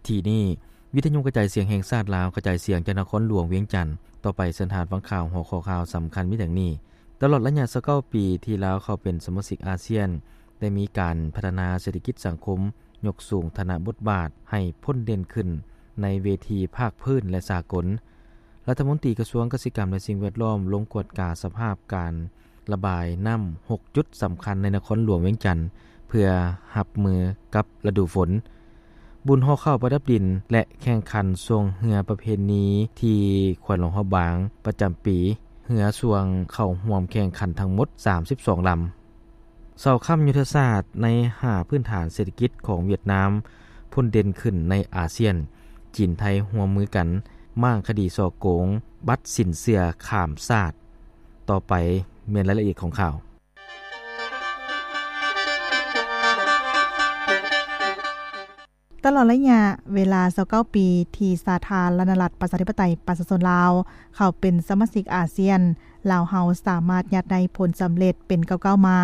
ທີ່ນີ້ ວິທະຍຸກະຈາຍສຽງແຫ່ງຊາດລາວ ກະຈາຍສຽງຈາກນະຄອນຫຼວງວຽງຈັນ ຕໍ່ໄປເຊີນທ່ານຟັງຂ່າວ. ຫົວຂໍ້ຂ່າວສຳຄັນມີດັ່ງນີ້: ຕະຫຼອດໄລຍະຊາວເກົ້າປີທີ່ລາວເຂົ້າເປັນສະມາຊິກອາຊຽນ ໄດ້ມີການພັດທະນາເສດຖະກິດສັງຄົມ, ຍົກສູງຖານະບົດບາດໃຫ້ພົ້ນເດັ່ນຂຶ້ນໃນເວທີພາກພື້ນ ແລະ ສາກົນ. ລັດຖະມົນຕີກະຊວງກະສິກຳ ແລະ ສິ່ງແວດລ້ອມ ລົງກວດກາສະພາບການລະບາຍນ້ຳ ຫົກຈຸດສຳຄັນໃນນະຄອນຫຼວງວຽງຈັນ ເພື່ອຮັບມືກັບລະດູຝົນ. ບຸນຫໍ່ເຂົ້າປະດັບດິນ ແລະ ແຂ່ງຂັນຊ່ວງເຮືອປະເພນີທີ່ແຂວງຫຼວງພະບາງປະຈຳປີ, ເຮືອຊ່ວງເຂົ້າຮ່ວມແຂ່ງຂັນທັງໝົດ ສາມສິບສອງລຳ. ເສົາຄ້ຳຍຸດທະສາດໃນຫ້າພື້ນຖານເສດຖະກິດຂອງຫວຽດນາມພົ້ນເດັ່ນຂຶ້ນໃນອາຊຽນ, ຈີນໄທຮ່ວມມືກັນມ້າງຄະດີສໍ້ໂກງບັດສິນເຊື່ອຂ້າມຊາດ. ຕໍ່ໄປແມ່ນລາຍລະອຽດຂອງຂ່າວ. ຕະຫຼອດໄລຍະເວລາຊາວເກົ້າປີທີ່ສາທາລະນະລັດ ປະຊາທິປະໄຕ ປະຊາຊົນລາວ ເຂົ້າເປັນສະມາຊິກອາຊຽນ, ລາວເຮົາສາມາດຍາດໄດ້ຜົນສຳເລັດເປັນກ້າວໆມາ,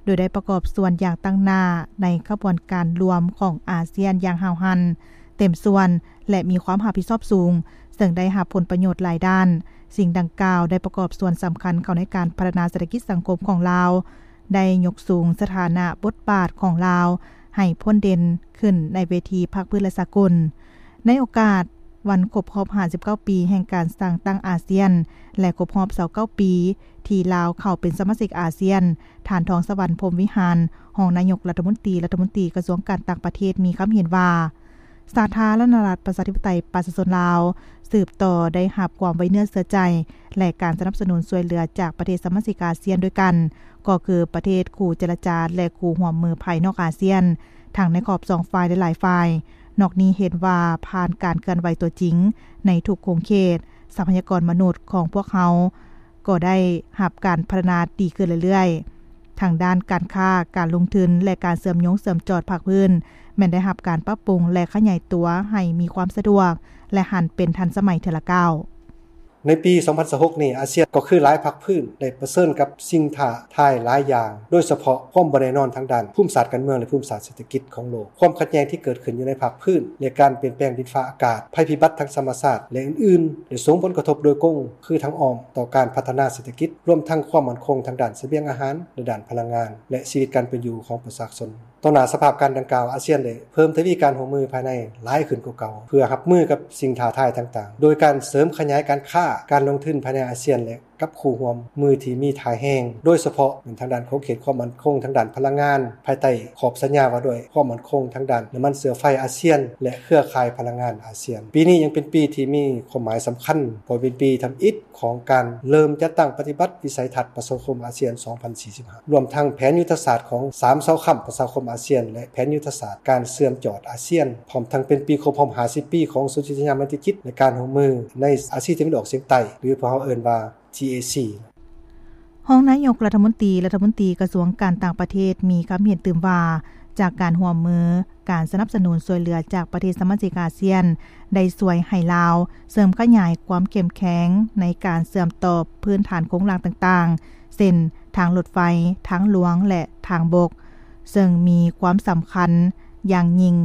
ໂດຍໄດ້ປະກອບສ່ວນຢ່າງຕັ້ງໜ້າໃນຂະບວນການລວມຂອງອາຊຽນຢ່າງຫ້າວຫັນ, ເຕັມສ່ວນ ແລະ ມີຄວາມຮັບຜິດຊອບສູງ, ເຊິ່ງໄດ້ຮັບຜົນປະໂຫຍດຫຼາຍດ້ານ. ສິ່ງດັ່ງກ່າວໄດ້ປະກອບສ່ວນສຳຄັນເຂົ້າໃນການພັດທະນາເສດຖະກິດສັງຄົມຂອງລາວ, ໄດ້ຍົກສູງສະຖານະບົດບາດຂອງລາວໃຫ້ພົ້ນເດັ່ນຂຶ້ນໃນເວທີພາກພື້ນ ແລະ ສາກົນ. ໃນໂອກາດວັນຄົບຮອບຫ້າສິບເກົ້າປີແຫ່ງການສ້າງຕັ້ງອາຊຽນ ແລະ ຄົບຮອບຊາວເກົ້າປີທີ່ລາວເຂົ້າເປັນສະມາຊິກອາຊຽນ, ທ່ານ ທອງສະຫວັນ ພົມວິຫານ ຮອງນາຍົກລັດຖະມົນຕີ, ລັດຖະມົນຕີກະຊວງການຕ່າງປະເທດ ມີຄຳເຫັນວ່າ ສາທາລະນະລັດ ປະຊາທິປະໄຕ ປະຊາຊົນລາວ ສືບຕໍ່ໄດ້ຮັບຄວາມໄວ້ເນື້ອເຊື່ອໃຈ ແລະ ການສະໜັບສະໜູນຊ່ວຍເຫຼືອຈາກປະເທດສະມາຊິກອາຊຽນດ້ວຍກັນ, ກໍຄືປະເທດຄູ່ເຈລະຈາ ແລະ ຄູ່ຮ່ວມມືພາຍນອກອາຊຽນ, ທັງໃນຂອບສອງຝ່າຍ ແລະ ຫຼາຍຝ່າຍ. ນອກນີ້ເຫັນວ່າຜ່ານການເຄື່ອນໄຫວຕົວຈິງໃນທຸກຂົງເຂດ, ຊັບພະຍາກອນມະນຸດຂອງພວກເຮົາກໍໄດ້ຮັບການພັດທະນາດີຂຶ້ນເລື້ອຍໆ. ທາງດ້ານການຄ້າ, ການລົງທຶນ ແລະ ການເຊື່ອມໂຍງເຊື່ອມຈອດພາກພື້ນ ແມ່ນໄດ້ຮັບການປັບປຸງ ແລະ ຂະຫຍາຍຕົວໃຫ້ມີຄວາມສະດວກ ແລະ ຫັນເປັນທັນສະໄໝເທື່ອລະກ້າວ. ໃນປີສອງພັນຊາວຫົກນີ້, ອາຊຽນກໍຄືຫຼາຍພາກພື້ນໄດ້ປະເຊີນກັບສິ່ງທ້າທາຍຫຼາຍຢ່າງ, ໂດຍສະເພາະຄວາມບໍ່ແນ່ນອນທາງດ້ານພູມສາດການເມືອງ ແລະ ພູມສາດເສດຖະກິດຂອງໂລກ, ຄວາມຂັດແຍ່ງທີ່ເກີດຂຶ້ນຢູ່ໃນພາກພື້ນ ແລະ ການປ່ຽນແປງດິນຟ້າອາກາດ, ໄພພິບັດທາງທຳມະຊາດ ແລະ ອື່ນໆ ໄດ້ສົ່ງຜົນກະທົບໂດຍກົງ ຄືທາງອ້ອມຕໍ່ການພັດທະນາເສດຖະກິດ, ລວມທັງຄວາມໝັ້ນຄົງທາງດ້ານສະບຽງອາຫານ ແລະ ດ້ານພະລັງງານ ແລະ ຊີວິດການເປັນຢູ່ຂອງປະຊາຊົນ. ຕໍ່ໜ້າສະພາບການດັ່ງກ່າວ, ອາຊຽນໄດ້ເພີ່ມທະວີການຮ່ວມມືພາຍໃນຫຼາຍຂຶ້ນກວ່າເກົ່າ ເພື່ອຮັບມືກັບສິ່ງທ້າທາຍຕ່າງໆ, ໂດຍການເສີມຂະຫຍາຍການຄ້າ, ການລົງທຶນພາຍໃນອາຊຽນ ແລະ ກັບຄູ່ຮ່ວມມືທີ່ມີທ່າແຮງ, ໂດຍສະເພາະແມ່ນທາງດ້ານຂອບເຂດຄວາມໝັ້ນຄົງທາງດ້ານພະລັງງານ, ພາຍໃຕ້ຂອບສັນຍາວ່າດ້ວຍຄວາມໝັ້ນຄົງທາງດ້ານນ້ຳມັນເຊື້ອໄຟອາຊຽນ ແລະ ເຄືອຂ່າຍພະລັງງານອາຊຽນ. ປີນີ້ຍັງເປັນປີທີ່ມີຄວາມໝາຍສຳຄັນ, ເພາະເປັນປີທຳອິດ ຂອງການເລີ່ມຈັດຕັ້ງປະຕິບັດວິໄສທັດປະຊາຄົມອາຊຽນສອງພັນສີ່ສິບຫ້າ ລວມທັງແຜນຍຸດທະສາດຂອງສາມເສົາຄ້ຳປະຊາຄົມອາຊຽນ ແລະ ແຜນຍຸດທະສາດການເຊື່ອມຈອດອາຊຽນ, ພ້ອມທັງເປັນປີຄົບຮອບຫ້າສິບປີຂອງສົນທິສັນຍາໄມຕີຈິດ ແລະ ການຮ່ວມມືໃນອາຊີຕາເວັນອອກສຽງໃຕ້ ຫຼື ພວກເຮົາເອີ້ນວ່າ ທີເອຊີ. ຮອງນາຍົກລັດຖະມົນຕີ, ລັດຖະມົນຕີກະຊວງການຕ່າງປະເທດ ມີຄຳເຫັນຕື່ມວ່າ ຈາກການຮ່ວມມື, ການສະໜັບສະໜູນຊ່ວຍເຫຼືອຈາກປະເທດສະມາຊິກອາຊຽນ ໄດ້ຊ່ວຍໃຫ້ລາວເສີມຂະຫຍາຍຄວາມເຂັ້ມແຂງໃນການເຊື່ອມຕໍ່ພື້ນຖານໂຄງລ່າງຕ່າງໆ ເຊັ່ນ ທາງລົດໄຟ, ທາງຫຼວງ ແລະ ທາງບົກ, ເຊິ່ງມີຄວາມສຳຄັນຢ່າງຍິ່ງ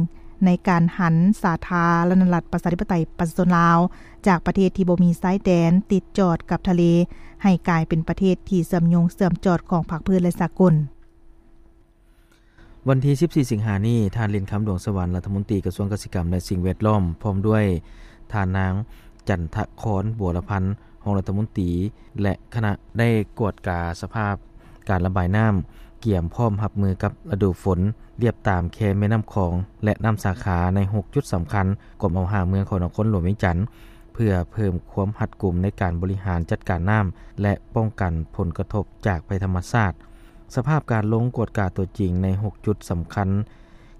ໃນການຫັນສາທາລະນະລັດ ປະຊາທິປະໄຕ ປະຊາຊົນລາວ ຈາກປະເທດທີ່ບໍ່ມີຊາຍແດນຕິດຈອດກັບທະເລ ໃຫ້ກາຍເປັນປະເທດທີ່ເຊື່ອມໂຍງເຊື່ອມຈອດຂອງພາກພື້ນ ແລະ ສາກົນ. ວັນທີສິບສີ່ ສິງຫານີ້, ທ່ານ ເລນຄຳ ດວງສະຫວັນ ລັດຖະມົນຕີກະຊວງກະສິກຳ ແລະ ສິ່ງແວດລ້ອມ ພ້ອມດ້ວຍທ່ານນາງ ຈັນທະຄອນ ບົວລະພັນ ຮອງລັດຖະມົນຕີ ແລະ ຄະນະ ໄດ້ກວດກາສະພາບການລະບາຍນ້ຳ, ກຽມພ້ອມຮັບມືກັບລະດູຝົນ, ລຽບຕາມແຄແມ່ນ້ຳຂອງ ແລະ ນ້ຳສາຂາໃນຫົກຈຸດສຳຄັນ ກວມເອົາຫ້າເມືອງຂອງນະຄອນຫຼວງວຽງຈັນ ເພື່ອເພີ່ມຄວາມຮັດກຸມໃນການບໍລິຫານຈັດການນ້ຳ ແລະ ປ້ອງກັນຜົນກະທົບຈາກໄພທຳມະຊາດ. ສະພາບການລົງກວດກາຕົວຈິງໃນຫົກຈຸດສຳຄັນ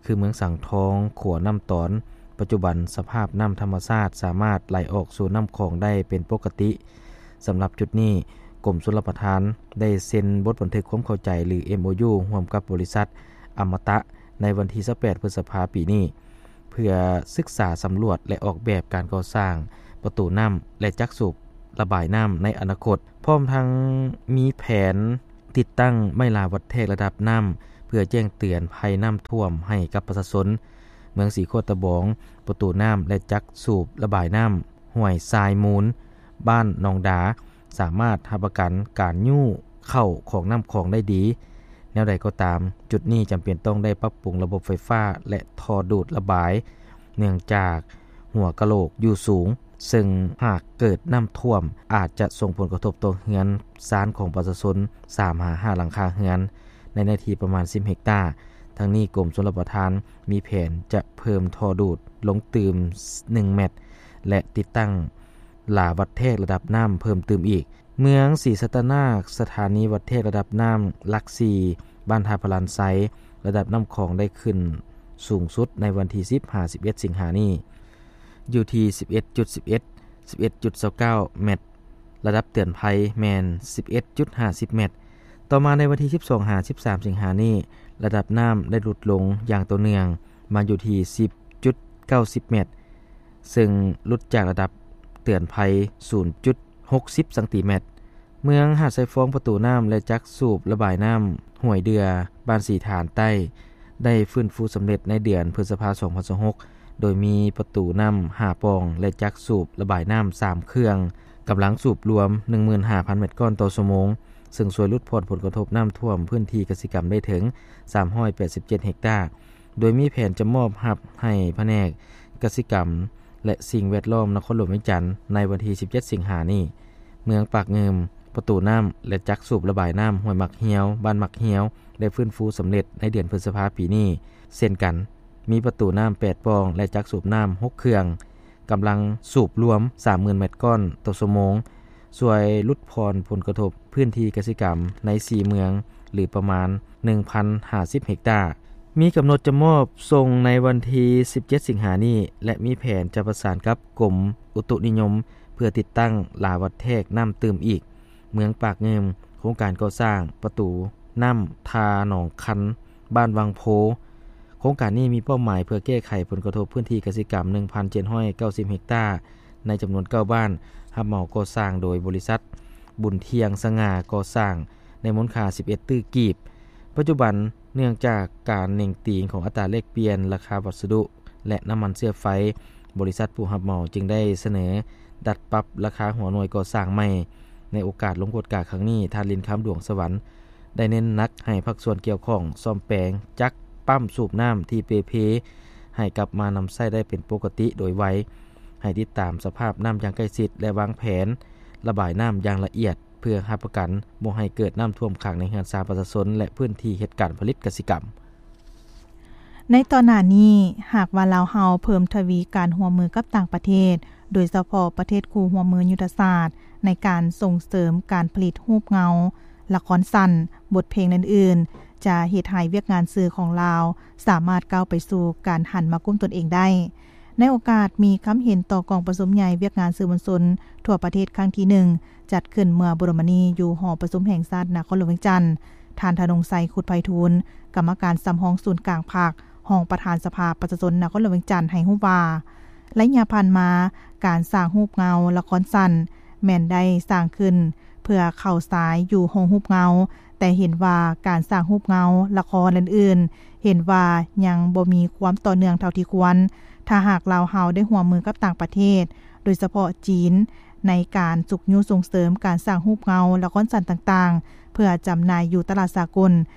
ຄືເມືອງສັງທອງ, ຂົວນ້ຳຕອນ, ປັດຈຸບັນສະພາບນ້ຳທຳມະຊາດສາມາດໄຫຼອອກສູ່ນ້ຳຂອງໄດ້ເປັນປົກກະຕິ. ສຳລັບຈຸດນີ້, ກົມຊົນລະປະທານໄດ້ເຊັນບົດບັນທຶກຄວາມເຂົ້າໃຈ ຫຼື ເອັມໂອຢູ ຮ່ວມກັບບໍລິສັດອະມະຕະ ໃນວັນທີຊາວແປດ ພຶດສະພາ ປີນີ້ ເພື່ອສຶກສາສຳຫຼວດ ແລະ ອອກແບບການກໍ່ສ້າງປະຕູນ້ຳ ແລະ ຈັກສູບລະບາຍນ້ຳໃນອະນາຄົດ, ພ້ອມທັງມີແຜນຕິດຕັ້ງໄມ້ລາວັດແທກລະດັບນ້ຳ ເພື່ອແຈ້ງເຕືອນໄພນ້ຳຖ້ວມໃຫ້ກັບປະຊາຊົນ. ເມືອງສີໂຄດຕະບອງ, ປະຕູນ້ຳ ແລະ ຈັກສູບລະບາຍນ້ຳຫ້ວຍຊາຍມູນ, ບ້ານໜອງດາ ສາມາດຮັບປະກັນການຍູ້ເຂົ້າຂອງນ້ຳຂອງໄດ້ດີ. ແນວໃດກໍຕາມ, ຈຸດນີ້ຈຳເປັນຕ້ອງໄດ້ປັບປຸງລະບົບໄຟຟ້າ ແລະ ທໍ່ດູດລະບາຍ ເນື່ອງຈາກຫົວກະໂຫຼກຢູ່ສູງ, ເຊິ່ງຫາກເກີດນ້ຳຖ້ວມ ອາດຈະສົ່ງຜົນກະທົບຕໍ່ເຮືອນຊານຂອງປະຊາຊົນ ສາມຫາຫ້າຫຼັງຄາເຮືອນ ໃນເນື້ອທີ່ປະມານສິບເຮັກຕາ. ທັງນີ້ ກົມຊົນລະປະທານມີແຜນຈະເພີ່ມທໍ່ດູດລົງຕື່ມໜຶ່ງແມັດ ແລະ ຕິດຕັ້ງລາວັດແທກລະດັບນ້ຳເພີ່ມຕື່ມອີກ. ເມືອງສີສັດຕະນາກ, ສະຖານີວັດແທກລະດັບນ້ຳຫຼັກສີ່ ບ້ານທ່າພະລານໄຊ, ລະດັບນ້ຳຂອງໄດ້ຂຶ້ນສູງສຸດໃນວັນທີສິບຫາສິບເອັດສິງຫານີ້ ຢູ່ທີ່ສິບເອັດຈຸດສິບເອັດ ສິບເອັດຈຸດຊາວເກົ້າແມັດ, ລະດັບເຕືອນໄພແມ່ນສິບເອັດຈຸດຫ້າສິບແມັດ. ຕໍ່ມາໃນວັນທີສິບສອງຫາສິບສາມສິງຫານີ້, ລະດັບນ້ຳໄດ້ຫຼຸດລົງຢ່າງຕໍ່ເນື່ອງ ມາຢູ່ທີ່ສິບຈຸດເກົ້າສິບແມັດ, ເຊິ່ງຫຼຸດຈາກລະດັບເຕືອນໄພສູນຈຸດຫົກສິບຊັງຕີແມັດ. ເມືອງຫາດຊາຍຟອງ, ປະຕູນ້ຳ ແລະ ຈັກສູບລະບາຍນ້ຳຫ້ວຍເດື່ອ ບ້ານສີຖານໃຕ້ ໄດ້ຟື້ນຟູສຳເລັດໃນເດືອນພຶດສະພາ ສອງພັນຊາວຫົກ ໂດຍມີປະຕູນ້ຳຫ້າປ່ອງ ແລະ ຈັກສູບລະບາຍນ້ຳສາມເຄື່ອງ, ກຳລັງສູບລວມໜຶ່ງໝື່ນຫ້າພັນແມັດກ້ອນຕໍ່ຊົ່ວໂມງ, ເຊິ່ງຊ່ວຍຫຼຸດຜ່ອນຜົນກະທົບນ້ຳຖ້ວມພື້ນທີ່ກະສິກຳໄດ້ເຖິງສາມຮ້ອຍແປດສິບເຈັດເຮັກຕາ, ໂດຍມີແຜນຈະມອບຮັບໃຫ້ພະແນກກະສິກຳ ແລະ ສິ່ງແວດລ້ອມນະຄອນຫຼວງວຽງຈັນ ໃນວັນທີສິບເຈັດສິງຫານີ້. ເມືອງປາກງື່ມ, ປະຕູນ້ຳ ແລະ ຈັກສູບລະບາຍນ້ຳຫ້ວຍໝາກຮຽວ, ບ້ານໝາກຮຽວ ໄດ້ຟື້ນຟູສຳເລັດໃນເດືອນພຶດສະພາປີນີ້ເຊັ່ນກັນ, ມີປະຕູນ້ຳແປດປ່ອງ ແລະ ຈັກສູບນ້ຳຫົກເຄື່ອງ, ກຳລັງສູບລວມສາມໝື່ນແມັດກ້ອນຕໍ່ຊົ່ວໂມງ, ຊ່ວຍຫຼຸດຜ່ອນຜົນກະທົບພື້ນທີ່ກະສິກຳໃນສີ່ເມືອງ ຫຼື ປະມານໜຶ່ງພັນຫ້າສິບເຮັກຕາ. ມີກຳນົດຈະມອບສົ່ງໃນວັນທີສິບເຈັດສິງຫານີ້ ແລະ ມີແຜນຈະປະສານກັບກົມອຸຕຸນິຍົມ ເພື່ອຕິດຕັ້ງລາວັດແທກນ້ຳຕື່ມອີກ. ເມືອງປາກງື່ມ, ໂຄງການກໍ່ສ້າງປະຕູນ້ຳທ່າໜອງຄັນ ບ້ານວັງໂພ. ໂຄງການນີ້ມີເປົ້າໝາຍເພື່ອແກ້ໄຂຜົນກະທົບພື້ນທີ່ກະສິກຳໜຶ່ງພັນເຈັດຮ້ອຍເກົ້າສິບເຮັກຕາ ໃນຈຳນວນເກົ້າບ້ານ, ຮັບເໝົາກໍ່ສ້າງໂດຍບໍລິສັດບຸນທ່ຽງສະຫງ່າກໍ່ສ້າງ ໃນມູນຄ່າສິບເອັດຕື້ກີບ. ປັດຈຸບັນ, ເນື່ອງຈາກການເໜັງຕີງຂອງອັດຕາແລກປ່ຽນລາຄາວັດສະດຸ ແລະ ນ້ຳມັນເຊື້ອໄຟ, ບໍລິສັດຜູ້ຮັບເໝົາຈຶ່ງໄດ້ສະເໜີດັດປັບລາຄາຫົວໜ່ວຍກໍ່ສ້າງໃໝ່. ໃນໂອກາດລົງກວດກາຄັ້ງນີ້, ທ່ານ ລິນຄຳ ດວງສະຫວັນ ໄດ້ເນັ້ນໜັກໃຫ້ພາກສ່ວນກ່ຽວຂ້ອງສ້ອມແປງຈັກປ້ຳສູບນ້ຳທີ່ເປ່ເພ ໃຫ້ກັບມານຳໃຊ້ໄດ້ເປັນປົກກະຕິໂດຍໄວ, ໃຫ້ຕິດຕາມສະພາບນ້ຳຢ່າງໃກ້ຊິດ ແລະ ວາງແຜນລະບາຍນ້ຳຢ່າງລະອຽດ ເພື່ອຮັບປະກັນບໍ່ໃຫ້ເກີດນ້ຳຖ້ວມຂັງໃນເຮືອນຊານປະຊາຊົນ ແລະ ພື້ນທີ່ເຮັດການຜະລິດກະສິກຳ. ໃນຕໍ່ໜ້ານີ້, ຫາກວ່າລາວເຮົາເພີ່ມທະວີການຮ່ວມມືກັບຕ່າງປະເທດ, ໂດຍສະເພາະປະເທດຄູ່ຮ່ວມມືຍຸດທະສາດ ໃນການສົ່ງເສີມການຜະລິດຮູບເງົາ, ລະຄອນສັ້ນ, ບົດເພງ ແລະ ອື່ນໆ, ຈະເຮັດໃຫ້ວຽກງານສື່ຂອງລາວສາມາດກ້າວໄປສູ່ການຫັນມາກຸ້ມຕົນເອງໄດ້. ໃນໂອກາດມີຄຳເຫັນຕໍ່ກອງປະຊຸມໃຫຍ່ວຽກງານສື່ມວນຊົນທົ່ວປະເທດຄັ້ງທີໜຶ່ງ ຈັດຂຶ້ນເມື່ອບໍ່ດົນມານີ້ຢູ່ຫໍປະຊຸມແຫ່ງຊາດນະຄອນຫຼວງວຽງຈັນ, ທ່ານ ທະນົງໄຊ ຄຸດໄພທູນ, ກຳມະການສຳຮອງສູນກາງພັກ, ຮອງປະທານສະພາປະຊາຊົນນະຄອນຫຼວງວຽງຈັນ ໃຫ້ຮູ້ວ່າ ໄລຍະຜ່ານມາ, ການສ້າງຮູບເງົາລະຄອນສັ້ນ ແມ່ນໄດ້ສ້າງຂຶ້ນເພື່ອເຂົ້າສາຍຢູ່ໂຮງຮູບເງົາ, ແຕ່ເຫັນວ່າການສ້າງຮູບເງົາ, ລະຄອນ ແລະ ອື່ນໆ ເຫັນວ່າຍັງບໍ່ມີຄວາມຕໍ່ເນື່ອງເທົ່າທີ່ຄວນ. ຖ້າຫາກລາວເຮົາໄດ້ຮ່ວມມືກັບຕ່າງປະເທດ, ໂດຍສະເພາະຈີນ, ໃນການຊຸກຍູ້ສົ່ງເສີມການສ້າງຮູບເງົາ, ລະຄອນສັ້ນຕ່າງໆ ເພື່ອຈຳໜ່າຍຢູ່ຕະຫຼາດສາກົນ,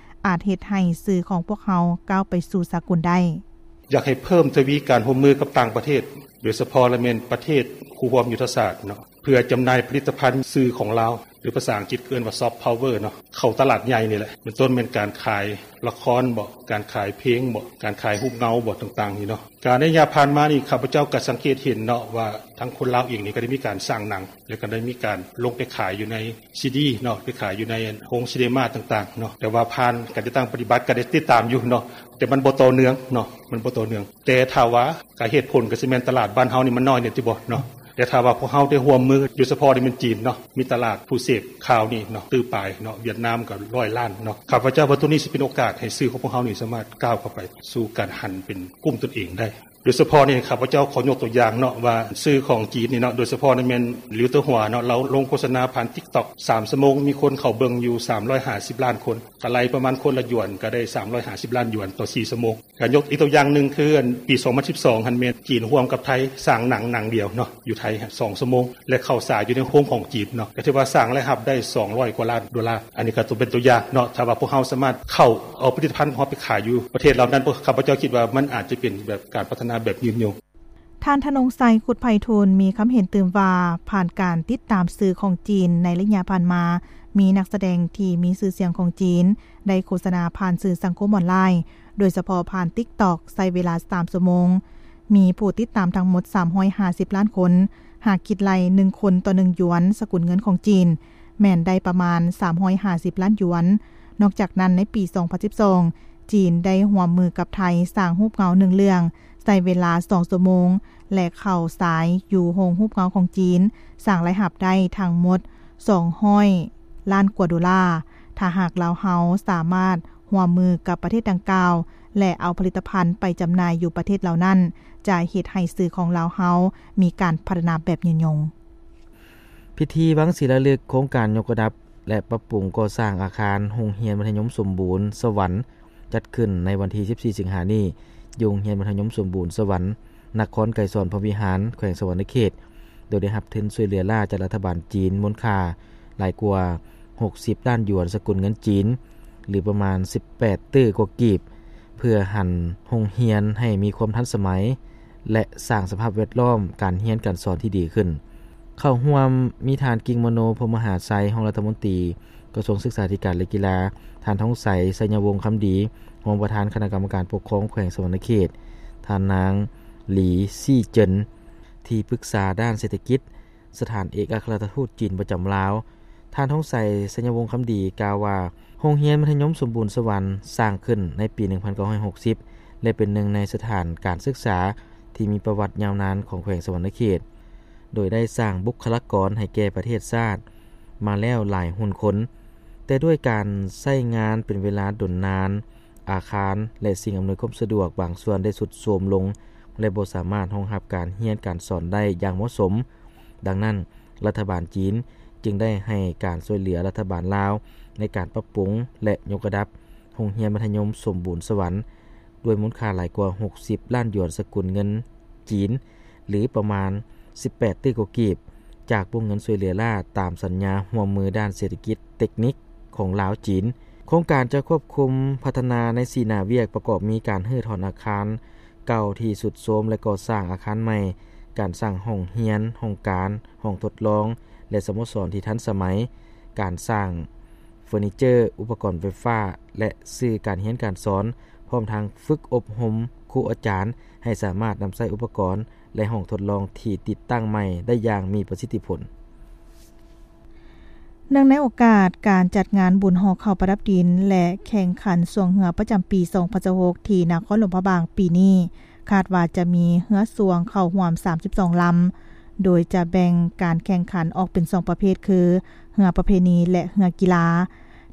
ອາດເຮັດໃຫ້ສື່ຂອງພວກເຮົາກ້າວໄປສູ່ສາກົນໄດ້. ຢາກໃຫ້ເພີ່ມທະວີການຮ່ວມມືກັບຕ່າງປະເທດ, ໂດຍສະເພາະລະແມ່ນປະເທດຄູ່ຮ່ວມຍຸດທະສາດເນາະ, ເພື່ອຈຳໜ່າຍຜະລິດຕະພັນສື່ຂອງລາວ ຫຼື ພາສາອັງກິດເອີ້ນວ່າ soft power ເນາະ, ເຂົ້າຕະຫຼາດໃຫຍ່ນີ້ແຫຼະ, ເປັນຕົ້ນແມ່ນການຂາຍລະຄອນບໍ, ການຂາຍເພງບໍ, ການຂາຍຮູບເງົາບໍ, ຕ່າງໆນີ້ເນາະ. ການໃນໄລຍະຜ່ານມານີ້ ຂ້າພະເຈົ້າກໍສັງເກດເຫັນເນາະ ວ່າທາງຄົນລາວເອງນີ້ກໍໄດ້ມີການສ້າງໜັງ ແລ້ວກໍໄດ້ມີການລົງໄປຂາຍຢູ່ໃນຊີດີເນາະ, ໄປຂາຍຢູ່ໃນໂຮງຊີເນມາຕ່າງໆເນາະ, ແຕ່ວ່າຜ່ານການຈັດຕັ້ງປະຕິບັດກໍໄດ້ຕິດຕາມຢູ່ເນາະ, ແຕ່ມັນບໍ່ຕໍ່ເນື່ອງເນາະ, ມັນບໍ່ຕໍ່ເນື່ອງ. ແຕ່ຖ້າວ່າ ກະເຫດຜົນກໍຊິແມ່ນຕະຫຼາດບ້ານເຮົານີ້ມັນນ້ອຍແດ່ຕິບໍເນາະ, ແຕ່ຖ້າວ່າພວກເຮົາໄດ້ຮ່ວມມື ໂດຍສະເພາະນີ້ແມ່ນຈີນເນາະ ມີຕະຫຼາດຜູ້ເສບຂ່າວນີ້ເນາະ ຕື້ປາຍເນາະ ຫວຽດນາມກໍຮ້ອຍລ້ານເນາະ ຂ້າພະເຈົ້າວ່າໂຕນີ້ຊິເປັນໂອກາດໃຫ້ສື່ຂອງພວກເຮົານີ້ສາມາດກ້າວເຂົ້າໄປສູ່ການຫັນເປັນກຸ່ມຕົນເອງໄດ້. ໂດຍສະເພາະນີ້ ຂ້າພະເຈົ້າຂໍຍົກຕົວຢ່າງເນາະ ວ່າສື່ຂອງຈີນນີ້ເນາະ ໂດຍສະເພາະນີ້ແມ່ນ Liu Tehua ເນາະ ລາວລົງໂຄສະນາຜ່ານ TikTok ສາມຊົ່ວໂມງ ມີຄົນເຂົ້າເບິ່ງຢູ່ສາມຮ້ອຍຫ້າສິບລ້ານຄົນ ກະໄລ່ປະມານຄົນລະຢວນ ກະໄດ້ສາມຮ້ອຍຫ້າສິບລ້ານຢວນຕໍ່ສີ່ຊົ່ວໂມງ. ກະຍົກອີກຕົວຢ່າງໜຶ່ງ ຄືອັນປີສອງພັນສິບສອງຫັ້ນແມ່ນ ຈີນຮ່ວມກັບໄທສ້າງໜັງໜັງດຽວເນາະ ຢູ່ໄທສອງຊົ່ວໂມງ ແລະເຂົ້າສາຍຢູ່ໃນໂຮງຂອງຈີນເນາະ ກະຖືວ່າສ້າງລາຍຮັບໄດ້ສອງຮ້ອຍກວ່າລ້ານໂດລາ. ອັນນີ້ກະເປັນຕົວຢ່າງເນາະ ຖ້າວ່າພວກເຮົາສາມາດເຂົ້າເອົາຜະລິດຕະພັນຂອງເຮົາໄປຂາຍຢູ່ປະເທດເຫຼົ່ານັ້ນ ຂ້າພະເຈົ້າຄິດວ່າມັນອາດຈະເປັນແບບການພັດທະນາແບບຍືນຍົງ. ທ່ານ ທະນົງໄຊ ຄຸດໄພທູນ ມີຄຳເຫັນຕື່ມວ່າ ຜ່ານການຕິດຕາມສື່ຂອງຈີນໃນໄລຍະຜ່ານມາ ມີນັກສະແດງທີ່ມີຊື່ສຽງຂອງຈີນ ໄດ້ໂຄສະນາຜ່ານສື່ສັງຄົມອອນລາຍ ໂດຍສະເພາະຜ່ານ TikTok ໃຊ້ເວລາສາມຊົ່ວໂມງ ມີຜູ້ຕິດຕາມທັງໝົດສາມຮ້ອຍຫ້າສິບລ້ານຄົນ. ຫາກຄິດໄລ່ໜຶ່ງຄົນຕໍ່ໜຶ່ງຢວນ ສະກຸນເງິນຂອງຈີນ ແມ່ນໄດ້ປະມານສາມຮ້ອຍຫ້າສິບລ້ານຢວນ. ນອກຈາກນັ້ນ ໃນປີສອງພັນສິບສອງ ຈີນໄດ້ຮ່ວມມືກັບໄທສ້າງຮູບເງົາໜຶ່ງເລື່ອງ ໃຊ້ເວລາສອງຊົ່ວໂມງ ແລະ ເຂົ້າສາຍຢູ່ໂຮງຮູບເງົາຂອງຈີນ ສ້າງລາຍຮັບໄດ້ທັງໝົດສອງຮ້ອຍລ້ານກວ່າໂດລາ. ຖ້າຫາກລາວເຮົາສາມາດຮ່ວມມືກັບປະເທດດັ່ງກ່າວ ແລະ ເອົາຜະລິດຕະພັນໄປຈຳໜ່າຍຢູ່ປະເທດເຫຼົ່ານັ້ນ ຈະເຮັດໃຫ້ສື່ຂອງລາວເຮົາມີການພັດທະນາແບບຍືນຍົງ. ພິທີວັງສີລາລຶກໂຄງການຍົກລະດັບ ແລະ ປັບປຸງກໍ່ສ້າງອາຄານໂຮງຮຽນມັດທະຍົມສົມບູນສະຫວັນ ຈັດຂຶ້ນໃນວັນທີສິບສີ່ ສິງຫານີ້ ຢູ່ໂຮງຮຽນມັດທະຍົມສົມບູນສະຫວັນ ນະຄອນໄກສອນພົມວິຫານ ແຂວງສະຫວັນນະເຂດ ໂດຍໄດ້ຮັບທຶນຊ່ວຍເຫຼືອລ້າຈາກລັດຖະບານຈີນ ມູນຄ່າຫຼາຍກວ່າຫົກສິບລ້ານຢວນ ສະກຸນເງິນຈີນ ຫຼື ປະມານສິບແປດຕື້ກວ່າກີບ ເພື່ອຫັນໂຮງຮຽນໃຫ້ມີຄວາມທັນສະໄໝ ແລະ ສ້າງສະພາບແວດລ້ອມການຮຽນການສອນທີ່ດີຂຶ້ນ. ເຂົ້າຮ່ວມມີທ່ານ ກິ່ງມະໂນ ພົມມະຫາໄຊ ຮອງລັດຖະມົນຕີກະຊວງສຶກສາທິການ ແລະ ກິລາ, ທ່ານ ທອງໄສ ໄຊຍະວົງຄຳດີ ຮອງປະທານຄະນະກຳມະການປົກຄອງແຂວງສະຫວັນນະເຂດ, ທ່ານນາງ ຫຼີ ຊີເຈິນ ທີ່ປຶກສາດ້ານເສດຖະກິດ ສະຖານເອກອັກຄະລັດຖະທູດຈີນປະຈຳລາວ. ທ່ານ ທອງໄສ ໄຊຍະວົງຄຳດີ ກ່າວວ່າ ໂຮງຮຽນມັດທະຍົມສົມບູນສະຫວັນສ້າງຂຶ້ນໃນປີໜຶ່ງພັນເກົ້າຮ້ອຍຫົກສິບ ແລະ ເປັນໜຶ່ງໃນສະຖານການສຶກສາທີ່ມີປະຫວັດຍາວນານຂອງແຂວງສະຫວັນນະເຂດ ໂດຍໄດ້ສ້າງບຸກຄະລາກອນໃຫ້ແກ່ປະເທດຊາດມາແລ້ວຫຼາຍຮຸ່ນຄົນ, ແຕ່ດ້ວຍການໃຊ້ງານເປັນເວລາດົນນານ, ອາຄານ ແລະ ສິ່ງອຳນວຍຄວາມສະດວກບາງສ່ວນໄດ້ຊຸດໂຊມລົງ ແລະ ບໍ່ສາມາດຮອງຮັບການຮຽນການສອນໄດ້ຢ່າງເໝາະສົມ. ດັ່ງນັ້ນ, ລັດຖະບານຈີນຈຶ່ງໄດ້ໃຫ້ການຊ່ວຍເຫຼືອລັດຖະບານລາວໃນການປັບປຸງ ແລະ ຍົກລະດັບໂຮງຮຽນມັດທະຍົມສົມບູນສະຫວັນ ດ້ວຍມູນຄ່າຫຼາຍກວ່າຫົກສິບລ້ານຢວນສະກຸນເງິນຈີນ ຫຼື ປະມານສິບແປດຕື້ກວ່າກີບ ຈາກວົງເງິນຊ່ວຍເຫຼືອລ້າຕາມສັນຍາຮ່ວມມືດ້ານເສດຖະກິດເຕັກນິກຂອງລາວ-ຈີນ. ໂຄງການຈະຄວບຄຸມພັດທະນາໃນສີ່ໜ້າວຽກ ປະກອບມີການຮື້ຖອນອາຄານເກົ່າທີ່ຊຸດໂຊມ ແລະ ກໍ່ສ້າງອາຄານໃໝ່, ການສ້າງຫ້ອງຮຽນ, ຫ້ອງການ, ຫ້ອງທົດລອງ ແລະ ສະໂມສອນທີ່ທັນສະໄໝ, ການສ້າງເຟີນີເຈີ, ອຸປະກອນໄຟຟ້າ ແລະ ສື່ການຮຽນການສອນ, ພ້ອມທັງຝຶກອົບຮົມຄູອາຈານໃຫ້ສາມາດນຳໃຊ້ອຸປະກອນ ແລະ ຫ້ອງທົດລອງທີ່ຕິດຕັ້ງໃໝ່ໄດ້ຢ່າງມີປະສິດທິຜົນ. ເນື່ອງໃນໂອກາດການຈັດງານບຸນຫໍ່ເຂົ້າປະດັບດິນ ແລະ ແຂ່ງຂັນຊ່ວງເຮືອປະຈຳປີສອງພັນຊາວຫົກ ທີ່ນະຄອນຫຼວງພະບາງປີນີ້, ຄາດວ່າຈະມີເຮືອຊ່ວງເຂົ້າຮ່ວມສາມສິບສອງລຳ, ໂດຍຈະແບ່ງການແຂ່ງຂັນອອກເປັນສອງປະເພດ ຄື ເຮືອປະເພນີ ແລະ ເຮືອກິລາ.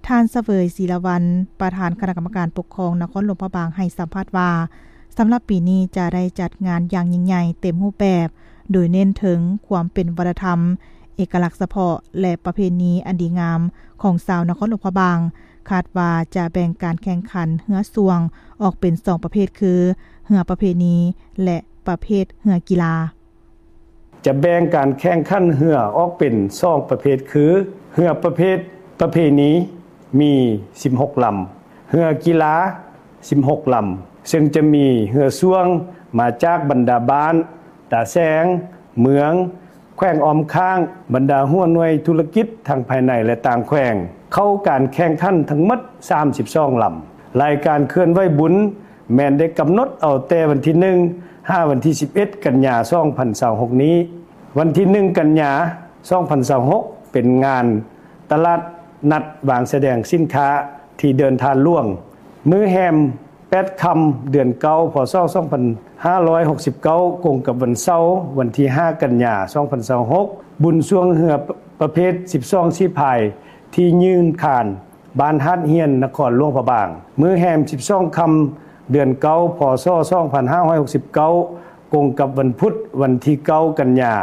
ທ່ານ ສະເຫວີຍ ສີລະວັນ ປະທານຄະນະກຳມະການປົກຄອງນະຄອນຫຼວງພະບາງ ໃຫ້ສຳພາດວ່າ, ສຳລັບປີນີ້ຈະໄດ້ຈັດງານຢ່າງຍິ່ງໃຫຍ່ເຕັມຮູບແບບ, ໂດຍເນັ້ນເຖິງຄວາມເປັນວັດທະນະທຳ, ເອກະລັກສະເພາະ ແລະ ປະເພນີອັນດີງາມຂອງຊາວນະຄອນຫຼວງພະບາງ. ຄາດວ່າຈະແບ່ງການແຂ່ງຂັນເຮືອຊ່ວງອອກເປັນສອງປະເພດ ຄື ເຮືອປະເພນີ ແລະ ປະເພດເຮືອກິລາ. ຈະແບ່ງການແຂ່ງຂັນເຮືອອອກເປັນສອງປະເພດ ຄື ເຮືອປະເພດປະເພນີມີສິບຫົກລຳ, ເຮືອກິລາສິບຫົກລຳ, ເຊິ່ງຈະມີເຮືອຊ່ວງມາຈາກບັນດາບ້ານ, ຕາແສງ, ເມືອງ, ແຂວງອ້ອມຂ້າງ, ບັນດາຫົວໜ່ວຍທຸລະກິດທັງພາຍໃນ ແລະ ຕ່າງແຂວງ ເຂົ້າການແຂ່ງຂັນທັງໝົດສາມສິບສອງລຳ. ລາຍການເຄື່ອນໄຫວບຸນແມ່ນໄດ້ກຳນົດເອົາແຕ່ວັນທີໜຶ່ງ ຫາວັນທີສິບເອັດ ກັນຍາ ສອງພັນຊາວຫົກນີ້. ວັນທີໜຶ່ງ ກັນຍາ ສອງພັນຊາວຫົກ ເປັນງານຕະຫຼາດນັດວາງສະແດງສິນຄ້າທີ່ເດີ່ນທາດຫຼວງ. ມື້ແຮມ ແປດຄ່ຳ ເດືອນເກົ້າ ພ.ສ. ສອງພັນຫ້າຮ້ອຍຫົກສິບເກົ້າ ກົງກັບວັນເສົາ ວັນທີຫ້າ ກັນຍາ ສອງພັນຊາວຫົກ ບຸນຊ່ວງເຮືອປະເພດສິບສອງສີພາຍ ທີ່ຍືນຄານ ບ້ານຫາດຮຽນ ນະຄອນຫຼວງພະບາງ. ມື້ແຮມ ສິບສອງຄ່ຳ ເດືອນເກົ້າ ພ.ສ. ສອງພັນຫ້າຮ້ອຍຫົກສິບເກົ້າ ກົງກັບວັນພຸດ ວັນທີເກົ້າ ກັນຍາ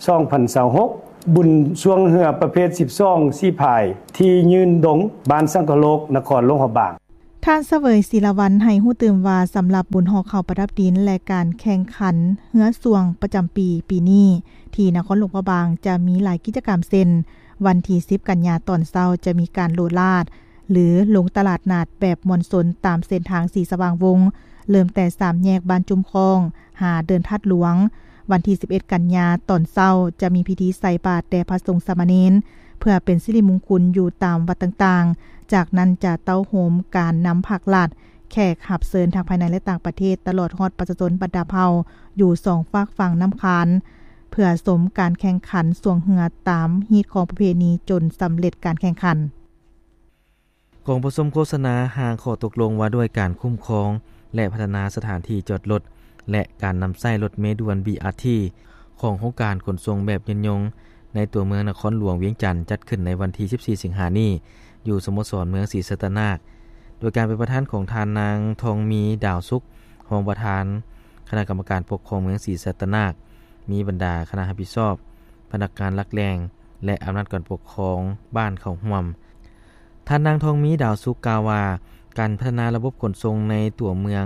ສອງພັນຊາວຫົກ ບຸນຊ່ວງເຮືອປະເພດສິບສອງສີພາຍ ທີ່ຍືນດົງ ບ້ານສັງຄະໂລກ ນະຄອນຫຼວງພະບາງ. ທ່ານ ສະເຫວີຍ ສີລະວັນ ໃຫ້ຮູ້ຕື່ມວ່າ ສຳລັບບຸນຫໍ່ເຂົ້າປະດັບດິນ ແລະ ການແຂ່ງຂັນເຮືອຊ່ວງປະຈຳປີ ປີນີ້ ທີ່ນະຄອນຫຼວງພະບາງ ຈະມີຫຼາຍກິດຈະກຳ ເຊັ່ນ ວັນທີສິບ ກັນຍາ ຕອນເຊົ້າ ຈະມີການໂລດລາດ ຫຼື ລົງຕະຫຼາດນັດແບບມ່ວນຊົນ ຕາມເສັ້ນທາງສີສະຫວ່າງວົງ ເລີ່ມແຕ່ສາມແຍກບ້ານຈຸ້ມຄ້ອງ ຫາເດີ່ນທາດຫຼວງ. ວັນທີສິບເອັດ ກັນຍາ ຕອນເຊົ້າ ຈະມີພິທີໃສ່ບາດແດ່ພະສົງສາມະເນນ ເພື່ອເປັນສິລິມຸງຄຸນຢູ່ຕາມວັດຕ່າງໆ. ຈາກນັ້ນຈະເຕົ້າໂຮມການນຳພາກລັດ, ແຂກຮັບເຊີນທັງພາຍໃນ ແລະ ຕ່າງປະເທດ, ຕະຫຼອດຮອດປະຊາຊົນບັນດາເຜົ່າ ຢູ່ສອງຟາກຝັ່ງນ້ຳຄານ ເພື່ອຊົມການແຂ່ງຂັນຊ່ວງເຮືອຕາມຮີດຄອງປະເພນີຈົນສຳເລັດການແຂ່ງຂັນ. ກອງປະຊຸມໂຄສະນາຮ່າງຂໍ້ຕົກລົງວ່າດ້ວຍການຄຸ້ມຄອງ ແລະ ພັດທະນາສະຖານທີ່ຈອດລົດ ແລະ ການນຳໃຊ້ລົດເມດ່ວນ ບີອາທີ ຂອງໂຄງການຂົນສົ່ງແບບຍືນຍົງໃນຕົວເມືອງນະຄອນຫຼວງວຽງຈັນ ຈັດຂຶ້ນໃນວັນທີສິບສີ່ ສິງຫານີ້ ຢູ່ສະໂມສອນເມືອງສີສັດຕະນາກ ໂດຍການເປັນປະທານຂອງທ່ານນາງ ທອງມີ ດາວສຸກ ຮອງປະທານຄະນະກຳມະການປົກຄອງເມືອງສີສັດຕະນາກ, ມີບັນດາຄະນະຮັບຜິດຊອບ, ພະນັກງານຫຼັກແຫຼ່ງ ແລະ ອຳນາດການປົກຄອງບ້ານເຂົ້າຮ່ວມ. ທ່ານນາງ ທອງມີ ດາວສຸກ ກ່າວວ່າ ການພັດທະນາລະບົບຂົນສົ່ງໃນຕົວເມືອງ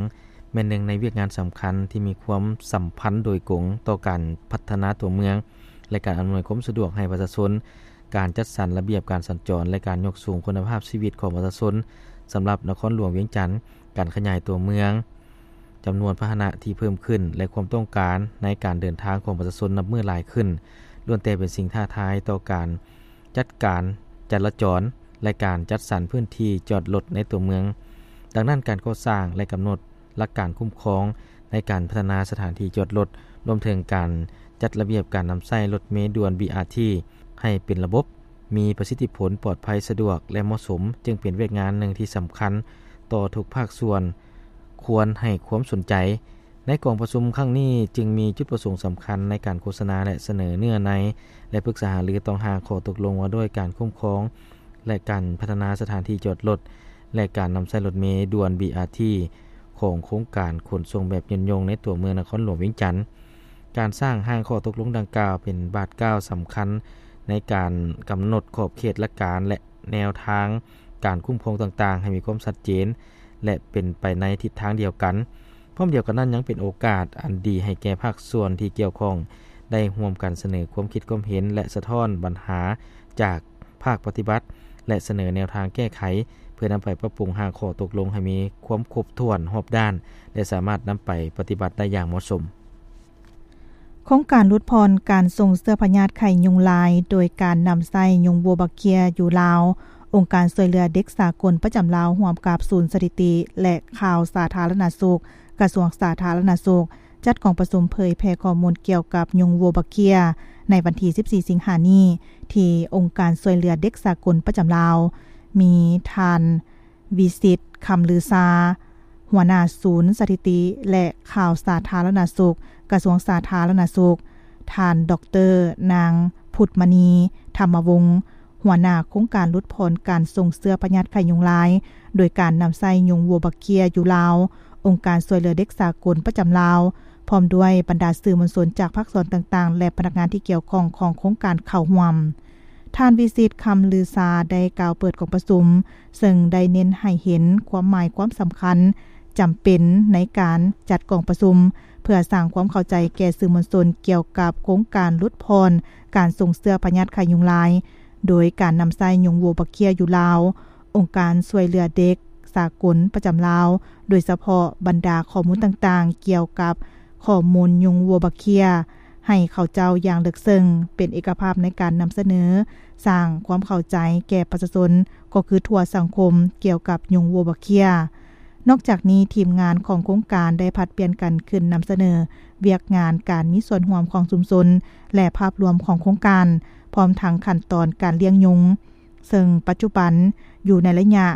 ແມ່ນໜຶ່ງໃນວຽກງານສຳຄັນທີ່ມີຄວາມສຳພັນໂດຍກົງຕໍ່ການພັດທະນາຕົວເມືອງ ແລະ ການອຳນວຍຄວາມສະດວກໃຫ້ປະຊາຊົນ, ການຈັດສັນລະບຽບການສັນຈອນ ແລະ ການຍົກສູງຄຸນນະພາບຊີວິດຂອງປະຊາຊົນ. ສຳລັບນະຄອນຫຼວງວຽງຈັນ, ການຂະຫຍາຍຕົວເມືອງ, ຈຳນວນພາຫະນະທີ່ເພີ່ມຂຶ້ນ ແລະ ຄວາມຕ້ອງການໃນການເດີນທາງຂອງປະຊາຊົນນັບມື້ຫຼາຍຂຶ້ນ ລ້ວນແຕ່ເປັນສິ່ງທ້າທາຍຕໍ່ການຈັດການຈະລາຈອນ ແລະ ການຈັດສັນພື້ນທີ່ຈອດລົດໃນຕົວເມືອງ. ດັ່ງນັ້ນ, ການກໍ່ສ້າງ ແລະ ກຳນົດຫຼັກການຄຸ້ມຄອງໃນການພັດທະນາສະຖານທີ່ຈອດລົດ, ລວມເຖິງການຈັດລະບຽບການນຳໃຊ້ລົດເມດ່ວນ ບີອາທີ ໃຫ້ເປັນລະບົບ, ມີປະສິດທິຜົນ, ປອດໄພ, ສະດວກ ແລະ ເໝາະສົມ, ຈຶ່ງເປັນວຽກງານໜຶ່ງທີ່ສຳຄັນຕໍ່ທຸກພາກສ່ວນ ຄວນໃຫ້ຄວາມສົນໃຈ. ໃນກອງປະຊຸມຄັ້ງນີ້ຈຶ່ງມີຈຸດປະສົງສຳຄັນໃນການໂຄສະນາ ແລະ ສະເໜີເນື້ອໃນ ແລະ ປຶກສາຫາລືຕໍ່ຮ່າງຂໍ້ຕົກລົງວ່າດ້ວຍການຄຸ້ມຄອງ ແລະ ການພັດທະນາສະຖານທີ່ຈອດລົດ ແລະ ການນຳໃຊ້ລົດເມດ່ວນ ບີອາທີ ຂອງໂຄງການຂົນສົ່ງແບບຍືນຍົງໃນຕົວເມືອງນະຄອນຫຼວງວຽງຈັນ. ການສ້າງຮ່າງຂໍ້ຕົກລົງດັ່ງກ່າວເປັນບາດກ້າວສຳຄັນໃນການກຳນົດຂອບເຂດຫຼັກການ ແລະ ແນວທາງການຄຸ້ມຄອງຕ່າງໆ ໃຫ້ມີຄວາມຊັດເຈນ ແລະ ເປັນໄປໃນທິດທາງດຽວກັນ. ພ້ອມດຽວກັນນັ້ນ, ຍັງເປັນໂອກາດອັນດີໃຫ້ແກ່ພາກສ່ວນທີ່ກ່ຽວຂ້ອງໄດ້ຮ່ວມກັນສະເໜີຄວາມຄິດຄວາມເຫັນ ແລະ ສະທ້ອນບັນຫາຈາກພາກປະຕິບັດ ແລະ ສະເໜີແນວທາງແກ້ໄຂ ເພື່ອນຳໄປປັບປຸງຮ່າງຂໍ້ຕົກລົງໃຫ້ມີຄວາມຄົບຖ້ວນຮອບດ້ານ ແລະ ສາມາດນຳໄປປະຕິບັດໄດ້ຢ່າງເໝາະສົມ. ໂຄງການຫຼຸດຜ່ອນການສົ່ງເຊື້ອພະຍາດໄຂ້ຍຸງລາຍ ໂດຍການນຳໃຊ້ຍຸງບົວບັກເຄຍຢູ່ລາວ, ອົງການຊ່ວຍເຫຼືອເດັກສາກົນປະຈຳລາວ ຮ່ວມກັບສູນສະຖິຕິ ແລະ ຂ່າວສາທາລະນະສຸກ, ກະຊວງສາທາລະນະສຸກ ຈັດກອງປະຊຸມເຜີຍແຜ່ຂໍ້ມູນກ່ຽວກັບຍຸງບົວບັກເຄຍ ໃນວັນທີສິບສີ່ ສິງຫານີ້ ທີ່ອົງການຊ່ວຍເຫຼືອເດັກສາກົນປະຈຳລາວ, ມີທ່ານ ວິສິດ ຄຳລືຊາ ຫົວໜ້າສູນສະຖິຕິ ແລະ ຂ່າວສາທາລະນະສຸກ ກະຊວງສາທາລະນະສຸກ, ທ່ານ ດອກເຕີ ນາງ ພຸດມະນີ ທຳມະວົງ ຫົວໜ້າໂຄງການຫຼຸດຜ່ອນການສົ່ງເຊື້ອພະຍາດໄຂ້ຍຸງລາຍ ໂດຍການນຳໃຊ້ຍຸງບົວບັກເຄຍຢູ່ລາວ, ອົງການຊ່ວຍເຫຼືອເດັກສາກົນປະຈຳລາວ, ພ້ອມດ້ວຍບັນດາສື່ມວນຊົນຈາກພາກສ່ວນຕ່າງໆ ແລະ ພະນັກງານທີ່ກ່ຽວຂ້ອງຂອງໂຄງການເຂົ້າຮ່ວມ. ທ່ານ ວິສິດ ຄຳລືຊາ ໄດ້ກ່າວເປີດກອງປະຊຸມ, ເຊິ່ງໄດ້ເນັ້ນໃຫ້ເຫັນຄວາມໝາຍຄວາມສຳຄັນຈຳເປັນໃນການຈັດກອງປະຊຸມ ເພື່ອສ້າງຄວາມເຂົ້າໃຈແກ່ສື່ມວນຊົນກ່ຽວກັບໂຄງການຫຼຸດຜ່ອນການສົ່ງເຊື້ອພະຍາດໄຂ້ຍຸງລາຍ ໂດຍການນຳໃຊ້ຍຸງບົວບັກເຄຍຢູ່ລາວ, ອົງການຊ່ວຍເຫຼືອເດັກສາກົນປະຈຳລາວ, ໂດຍສະເພາະບັນດາຂໍ້ມູນຕ່າງໆ ກ່ຽວກັບຂໍ້ມູນຍຸງບົວບັກເຄຍ ໃຫ້ເຂົາເຈົ້າຢ່າງເລິກເຊິ່ງ, ເປັນເອກະພາບໃນການນຳສະເໜີ, ສ້າງຄວາມເຂົ້າໃຈແກ່ປະຊາຊົນ ກໍຄືທົ່ວສັງຄົມ ກ່ຽວກັບຍຸງບົວບັກເຄຍ. ນອກຈາກນີ້, ທີມງານຂອງໂຄງການໄດ້ຜັດປ່ຽນກັນຂຶ້ນນຳສະເໜີວຽກງານການມີສ່ວນຮ່ວມຂອງຊຸມຊົນ ແລະ ພາບລວມຂອງໂຄງການ, ພ້ອມທັງຂັ້ນຕອນການລ້ຽງຍຸງ, ເຊິ່ງປັດຈຸບັນຢູ່ໃນໄລຍະ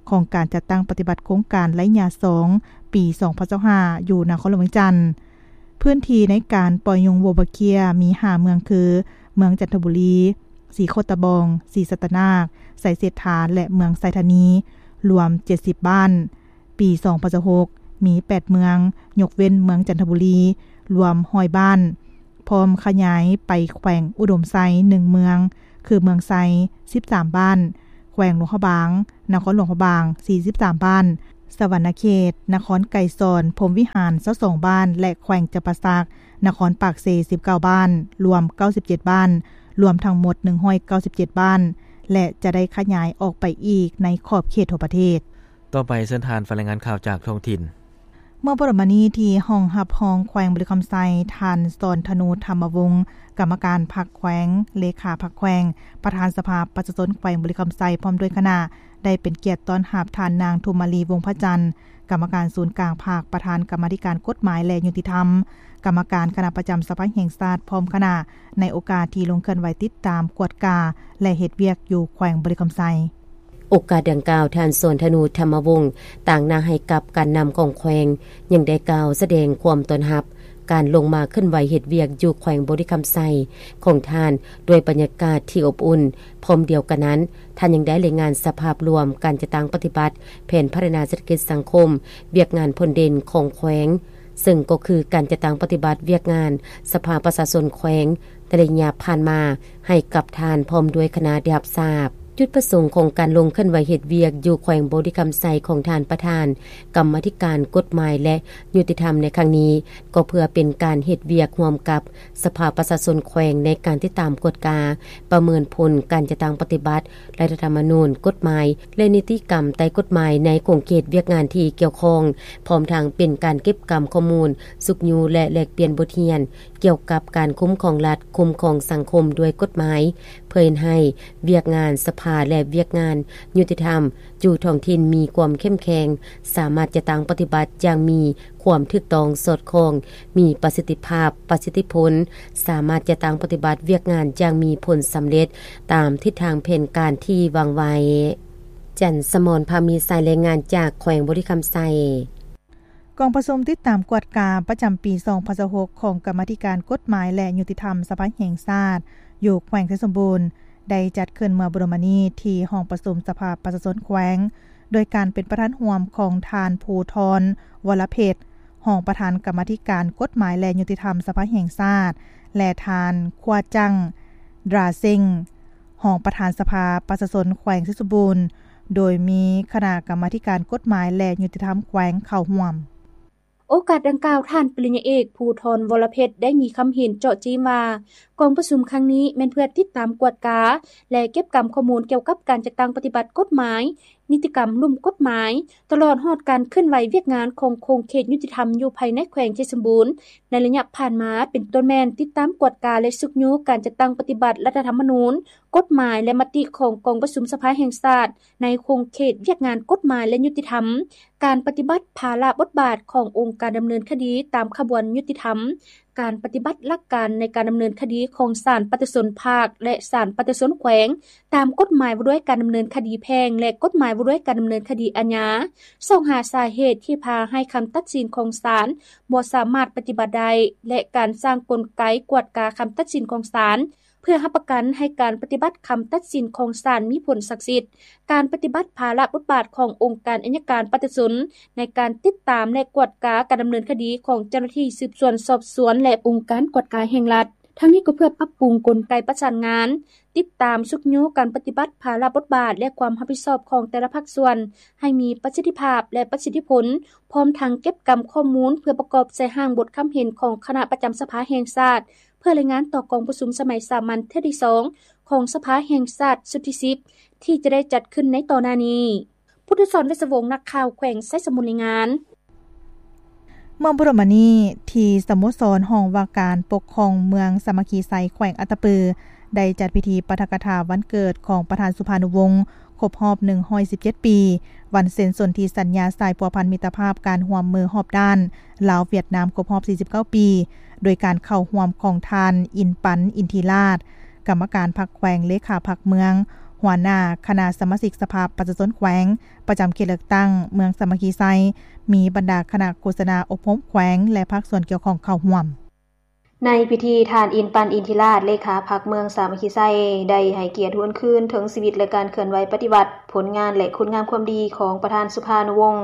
ຂອງການຈັດຕັ້ງປະຕິບັດໂຄງການໄລຍະສອງ ປີສອງພັນຊາວຫ້າ ຢູ່ນະຄອນຫຼວງວຽງຈັນ. ພື້ນທີ່ໃນການປ່ອຍຍຸງໂວບາເຄຍມີຫ້າເມືອງຄື ເມືອງຈັນທະບູລີ, ສີໂຄດຕະບອງ, ສີສັດຕະນາກ, ໄຊເສດຖາ ແລະ ເມືອງໄຊທານີ ລວມເຈັດສິບບ້ານ. ປີສອງພັນຊາວຫົກ ມີແປດເມືອງ, ຍົກເວັ້ນເມືອງຈັນທະບູລີ ລວມຮ້ອຍບ້ານ, ພ້ອມຂະຫຍາຍໄປແຂວງອຸດົມໄຊ ໜຶ່ງເມືອງ ຄືເມືອງໄຊ ສິບສາມບ້ານ, ແຂວງຫຼວງພະບາງ, ນະຄອນຫຼວງພະບາງ ສີ່ສິບສາມບ້ານ, ສະຫວັນນະເຂດ, ນະຄອນໄກສອນ, ພົມວິຫານ ຊາວສອງບ້ານ ແລະ ແຂວງຈຳປາສັກ, ນະຄອນປາກເຊ ສິບເກົ້າບ້ານ, ລວມເກົ້າສິບເຈັດບ້ານ, ລວມທັງໝົດ ໜຶ່ງຮ້ອຍເກົ້າສິບເຈັດບ້ານ ແລະ ຈະໄດ້ຂະຫຍາຍອອກໄປອີກໃນຂອບເຂດທົ່ວປະເທດ. ຕໍ່ໄປເຊີນທ່ານຟັງລາຍງານຂ່າວຈາກທ້ອງຖິ່ນ. ເມື່ອບໍ່ດົນມານີ້ ທີ່ຫ້ອງຮັບຮອງແຂວງບໍລິຄຳໄຊ, ທ່ານ ສອນທະນູ ທຳມະວົງ ກຳມະການພັກແຂວງ, ເລຂາພັກແຂວງ, ປະທານສະພາປະຊາຊົນແຂວງບໍລິຄຳໄຊ ພ້ອມດ້ວຍຄະນະ ໄດ້ເປັນກຽດຕ້ອນຮັບທ່ານນາງ ທຸມມາລີ ວົງພະຈັນ ກຳມະການສູນກາງພັກ, ປະທານກຳມາທິການກົດໝາຍ ແລະ ຍຸຕິທຳ, ກຳມະການຄະນະປະຈຳສະພາແຫ່ງຊາດ ພ້ອມຄະນະ ໃນໂອກາດທີ່ລົງເຄື່ອນໄຫວຕິດຕາມ, ກວດກາ ແລະ ເຮັດວຽກຢູ່ແຂວງບໍລິຄຳໄຊ. ໂອກາດດັ່ງກ່າວ, ທ່ານ ສອນທະນູ ທຳມະວົງ ຕາງໜ້າໃຫ້ກັບການນຳຂອງແຂວງ ຍັງໄດ້ກ່າວສະແດງຄວາມຕ້ອນຮັບການລົງມາເຄື່ອນໄຫວເຮັດວຽກຢູ່ແຂວງບໍລິຄຳໄຊຂອງທ່ານ ດ້ວຍບັນຍາກາດທີ່ອົບອຸ່ນ. ພ້ອມດຽວກັນນັ້ນ, ທ່ານຍັງໄດ້ລາຍງານສະພາບລວມການຈັດຕັ້ງປະຕິບັດແຜນພັດທະນາເສດຖະກິດສັງຄົມ, ວຽກງານພົ້ນເດັ່ນຂອງແຂວງ, ເຊິ່ງກໍຄືການຈັດຕັ້ງປະຕິບັດວຽກງານສະພາປະຊາຊົນແຂວງໃນໄລຍະຜ່ານມາ ໃຫ້ກັບທ່ານພ້ອມດ້ວຍຄະນະໄດ້ຮັບຊາບ. ຈຸດປະສົງຂອງການລົງເຄື່ອນໄຫວເຮັດວຽກຢູ່ແຂວງບໍລິຄຳໄຊຂອງທ່ານປະທານກຳມາທິການກົດໝາຍ ແລະ ຍຸຕິທຳໃນຄັ້ງນີ້ ກໍເພື່ອເປັນການເຮັດວຽກຮ່ວມກັບສະພາປະຊາຊົນແຂວງ ໃນການຕິດຕາມກວດກາ, ປະເມີນຜົນການຈັດຕັ້ງປະຕິບັດລັດຖະທຳມະນູນ, ກົດໝາຍ ແລະ ນິຕິກຳໃຕ້ກົດໝາຍໃນຂົງເຂດວຽກງານທີ່ກ່ຽວຂ້ອງ, ພ້ອມທັງເປັນການເກັບກຳຂໍ້ມູນ, ຊຸກຍູ້ ແລະ ແລກປ່ຽນບົດຮຽນ ກ່ຽວກັບການຄຸ້ມຄອງລັດ, ຄຸ້ມຄອງສັງຄົມດ້ວຍກົດໝາຍ, ເພື່ອເຮັດໃຫ້ວຽກງານສະພາ ແລະ ວຽກງານຍຸຕິທຳຢູ່ທ້ອງຖິ່ນມີຄວາມເຂັ້ມແຂງ, ສາມາດຈັດຕັ້ງປະຕິບັດຢ່າງມີຄວາມຖືກຕ້ອງ, ສອດຄ່ອງ, ມີປະສິດທິພາບ, ປະສິດທິຜົນ, ສາມາດຈັດຕັ້ງປະຕິບັດວຽກງານຢ່າງມີຜົນສຳເລັດຕາມທິດທາງແຜນການທີ່ວາງໄວ້. ຈັນສະໝອນ ພາມີ ສາຍລາຍງານຈາກແຂວງບໍລິຄຳໄຊ. ກອງປະຊຸມຕິດຕາມກວດກາປະຈຳປີສອງພັນຊາວຫົກ ຂອງກຳມາທິການກົດໝາຍ ແລະ ຍຸຕິທຳສະພາແຫ່ງຊາດ ຢູ່ແຂວງໄຊສົມບູນ ໄດ້ຈັດຂຶ້ນເມື່ອບໍ່ດົນມານີ້ ທີ່ຫ້ອງປະຊຸມສະພາປະຊາຊົນແຂວງ ໂດຍການເປັນປະທານຮ່ວມຂອງທ່ານ ພູທອນ ວໍລະເພັດ ຮອງປະທານກຳມາທິການກົດໝາຍ ແລະ ຍຸຕິທຳສະພາແຫ່ງຊາດ ແລະ ທ່ານ ຂົວຈັງ ດຣາເຊັງ ຮອງປະທານສະພາປະຊາຊົນແຂວງໄຊສົມບູນ ໂດຍມີຄະນະກຳມາທິການກົດໝາຍ ແລະ ຍຸຕິທຳແຂວງເຂົ້າຮ່ວມ. ໂອກາດດັ່ງກ່າວ, ທ່ານປະລິນຍາເອກ ພູທອນ ວໍລະເພັດ ໄດ້ມີຄຳເຫັນເຈາະຈີ້ມວ່າ ກອງປະຊຸມຄັ້ງນີ້ແມ່ນເພື່ອຕິດຕາມກວດກາ ແລະ ເກັບກຳຂໍ້ມູນກ່ຽວກັບການຈັດຕັ້ງປະຕິບັດກົດໝາຍ, ນິຕິກຳລຸ່ມກົດໝາຍ, ຕະຫຼອດຮອດການເຄື່ອນໄຫວວຽກງານຂອງຂົງເຂດຍຸຕິທຳຢູ່ພາຍໃນແຂວງໄຊສົມບູນ ໃນໄລຍະຜ່ານມາ, ເປັນຕົ້ນແມ່ນຕິດຕາມກວດກາ ແລະ ຊຸກຍູ້ການຈັດຕັ້ງປະຕິບັດລັດຖະທຳມະນູນ, ກົດໝາຍ ແລະ ມະຕິຂອງກອງປະຊຸມສະພາແຫ່ງຊາດ ໃນຂົງເຂດວຽກງານກົດໝາຍ ແລະ ຍຸຕິທຳ, ການປະຕິບັດພາລະບົດບາດຂອງອົງການດຳເນີນຄະດີຕາມຂະບວນຍຸຕິທຳ, ການປະຕິບັດຫຼັກການໃນການດຳເນີນຄະດີຂອງສານປະຊາຊົນພາກ ແລະ ສານປະຊາຊົນແຂວງ ຕາມກົດໝາຍວ່າດ້ວຍການດຳເນີນຄະດີແພ່ງ ແລະ ກົດໝາຍວ່າດ້ວຍການດຳເນີນຄະດີອາຍາ, ຊອກຫາສາເຫດທີ່ພາໃຫ້ຄຳຕັດສິນຂອງສານບໍ່ສາມາດປະຕິບັດໄດ້ ແລະ ການສ້າງກົນໄກກວດກາຄຳຕັດສິນຂອງສານ ເພື່ອຮັບປະກັນໃຫ້ການປະຕິບັດຄຳຕັດສິນຂອງສານມີຜົນສັກສິດ, ການປະຕິບັດພາລະບົດບາດຂອງອົງການໄອຍະການປະຊາຊົນ ໃນການຕິດຕາມ ແລະ ກວດກາການດຳເນີນຄະດີຂອງເຈົ້າໜ້າທີ່ສືບສວນສອບສວນ ແລະ ອົງການກວດກາແຫ່ງລັດ. ທັງນີ້ກໍເພື່ອປັບປຸງກົນໄກປະສານງານ, ຕິດຕາມຊຸກຍູ້ການປະຕິບັດພາລະບົດບາດ ແລະ ຄວາມຮັບຜິດຊອບຂອງແຕ່ລະພາກສ່ວນ ໃຫ້ມີປະສິດທິພາບ ແລະ ປະສິດທິຜົນ, ພ້ອມທັງເກັບກຳຂໍ້ມູນເພື່ອປະກອບໃສ່ຮ່າງບົດຄຳເຫັນຂອງຄະນະປະຈຳສະພາແຫ່ງຊາດ ເພື່ອລາຍງານຕໍ່ກອງປະຊຸມສະໄໝສາມັນເທື່ອທີສອງຂອງສະພາແຫ່ງຊາດຊຸດທີສິບ ທີ່ຈະໄດ້ຈັດຂຶ້ນໃນຕໍ່ໜ້ານີ້. ພຸດທະສອນ ເວດສະວົງ ນັກຂ່າວແຂວງໄຊສົມບູນ ລາຍງານ. ເມື່ອບໍ່ດົນມານີ້ ທີ່ສະໂມສອນຫ້ອງວ່າການປົກຄອງເມືອງສາມັກຄີໄຊ ແຂວງອັດຕະປື ໄດ້ຈັດພິທີປາຖະກະຖາວັນເກີດຂອງປະທານສຸພານຸວົງ ຄົບຮອບໜຶ່ງຮ້ອຍສິບເຈັດປີ ວັນເຊັນສົນທິສັນຍາສາຍພົວພັນມິດຕະພາບການຮ່ວມມືຮອບດ້ານ ລາວ-ຫວຽດນາມ ຄົບຮອບສີ່ສິບເກົ້າປີ ໂດຍການເຂົ້າຮ່ວມຂອງທ່ານ ອິນປັນ ອິນທິລາດ ກຳມະການພັກແຂວງ, ເລຂາພັກເມືອງ, ໂຮ ຫົວໜ້າຄະນະສະມາຊິກສະພາປະຊາຊົນແຂວງ ປະຈຳເຂດເລືອກຕັ້ງເມືອງສາມັກຄີໄຊ, ມີບັນດາຄະນະໂຄສະນາອົບຮົມແຂວງ ແລະ ພາກສ່ວນກ່ຽວຂ້ອງເຂົ້າຮ່ວມ. ໃນພິທີ, ທ່ານ ອິນປັນ ອິນທິລາດ ເລຂາພັກເມືອງສາມັກຄີໄຊ ໄດ້ໃຫ້ກຽດຫວນຄືນເຖິງຊີວິດ ແລະ ການເຄື່ອນໄຫວປະຕິວັດ, ຜົນງານ ແລະ ຄຸນງາມຄວາມດີຂອງປະທານສຸພານຸວົງ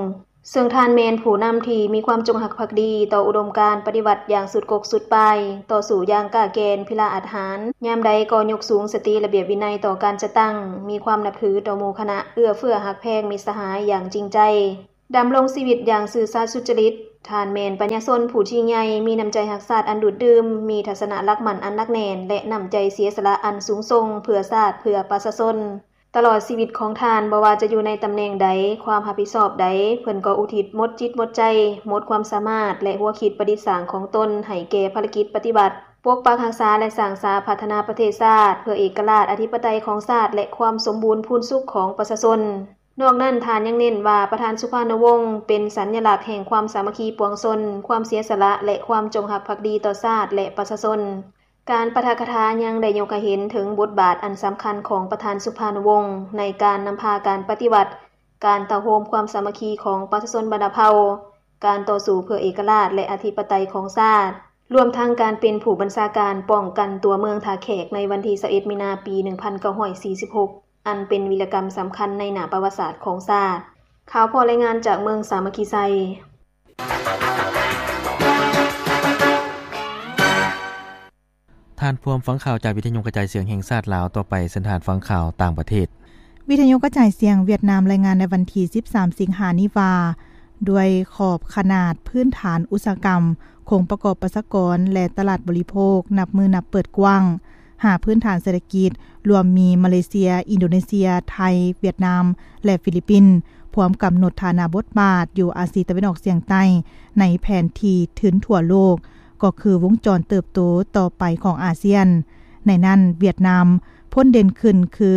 ເຊິ່ງທ່ານແມ່ນຜູ້ນຳທີ່ມີຄວາມຈົງຮັກພັກດີຕໍ່ອຸດົມການປະຕິວັດຢ່າງສຸດກົກສຸດປາຍ, ຕໍ່ສູ້ຢ່າງກ້າແກ່ນ, ພິລະອາດຫານ, ຍາມໃດກໍຍົກສູງສະຕິລະບຽບວິໄນຕໍ່ການຈັດຕັ້ງ, ມີຄວາມນັບຖືຕໍ່ໝູ່ຄະນະ, ເອື້ອເຟື້ອຮັກແພງມິດສະຫາຍຢ່າງຈິງໃຈ, ດຳລົງຊີວິດຢ່າງຊື່ສັດສຸດຈະລິດ. ທ່ານແມ່ນປັນຍາຊົນຜູ້ຈິງໃຫຍ່, ມີນ້ຳໃຈຮັກຊາດອັນດູດດື່ມ, ມີທັດສະນະຫຼັກໝັ້ນອັນໜັກແໜ້ນ ແລະ ນ້ຳໃຈເສຍສະຫຼະອັນສູງສົ່ງເພື່ອຊາດ, ເພື່ອປະຊາຊົນ. ຕະຫຼອດຊີວິດຂອງທ່ານ, ບໍ່ວ່າຈະຢູ່ໃນຕຳແໜ່ງໃດ, ຄວາມຮັບຜິດຊອບໃດ, ເພິ່ນກໍອຸທິດໝົດຈິດໝົດໃຈ, ໝົດຄວາມສາມາດ ແລະ ຫົວຄິດປະດິດສ້າງຂອງຕົນໃຫ້ແກ່ພາລະກິດປະຕິວັດ, ປົກປັກຮັກສາ ແລະ ສ້າງສາພັດທະນາປະເທດຊາດ ເພື່ອເອກະລາດອະທິປະໄຕຂອງຊາດ ແລະ ຄວາມສົມບູນພູນສຸກຂອງປະຊາຊົນ. ນອກນັ້ນ, ທ່ານຍັງເນັ້ນວ່າ ປະທານສຸພານຸວົງ ເປັນສັນຍະລັກແຫ່ງຄວາມສາມັກຄີປວງຊົນ, ຄວາມເສຍສະຫຼະ ແລະ ຄວາມຈົງຮັກພັກດີຕໍ່ຊາດ ແລະ ປະຊາຊົນ. ການປາຖະກະຖາຍັງໄດ້ຍົກໃຫ້ເຫັນເຖິງບົດບາດອັນສຳຄັນຂອງປະທານສຸພານຸວົງ ໃນການນຳພາການປະຕິວັດ, ການເຕົ້າໂຮມຄວາມສາມັກຄີຂອງປະຊາຊົນບັນດາເຜົ່າ, ການຕໍ່ສູ້ເພື່ອເອກະລາດ ແລະ ອະທິປະໄຕຂອງຊາດ, ລວມທັງການເປັນຜູ້ບັນຊາການປ້ອງກັນຕົວເມືອງທ່າແຂກໃນວັນທີຊາວເອັດ ມີນາ ປີໜຶ່ງພັນເກົ້າຮ້ອຍສີ່ສິບຫົກ ອັນເປັນວິລະກຳສຳຄັນໃນໜ້າປະຫວັດສາດຂອງຊາດ. ຂ່າວພໍລາຍງານຈາກເມືອງສາມັກຄີໄຊ. ທ່ານພວມຟັງຂ່າວຈາກວິທະຍຸກະຈາຍສຽງແຫ່ງຊາດລາວ. ຕໍ່ໄປເຊີນທ່ານຟັງຂ່າວຕ່າງປະເທດ. ວິທະຍຸກະຈາຍສຽງຫວຽດນາມລາຍງານໃນວັນທີສິບສາມ ສິງຫານີ້ວ່າ ດ້ວຍຂອບຂະໜາດພື້ນຖານອຸດສາຫະກຳ, ໂຄງປະກອບປະຊາກອນ ແລະ ຕະຫຼາດບໍລິໂພກ ນັບມື້ນັບເປີດກວ້າງ. ຫ້າພື້ນຖານເສດຖະກິດ ລວມມີມາເລເຊຍ, ອິນໂດເນເຊຍ, ໄທ, ຫວຽດນາມ ແລະ ຟີລິບປິນ ພວມກຳນົດຖານະບົດບາດຢູ່ອາຊີຕາເວັນອອກສຽງໃຕ້ ໃນແຜນທີ່ທຶນທົ່ວໂລກ ກໍຄືວົງຈອນເຕີບໂຕຕໍ່ໄປຂອງອາຊຽນ. ໃນນັ້ນ, ຫວຽດນາມພົ້ນເດັ່ນຂຶ້ນຄື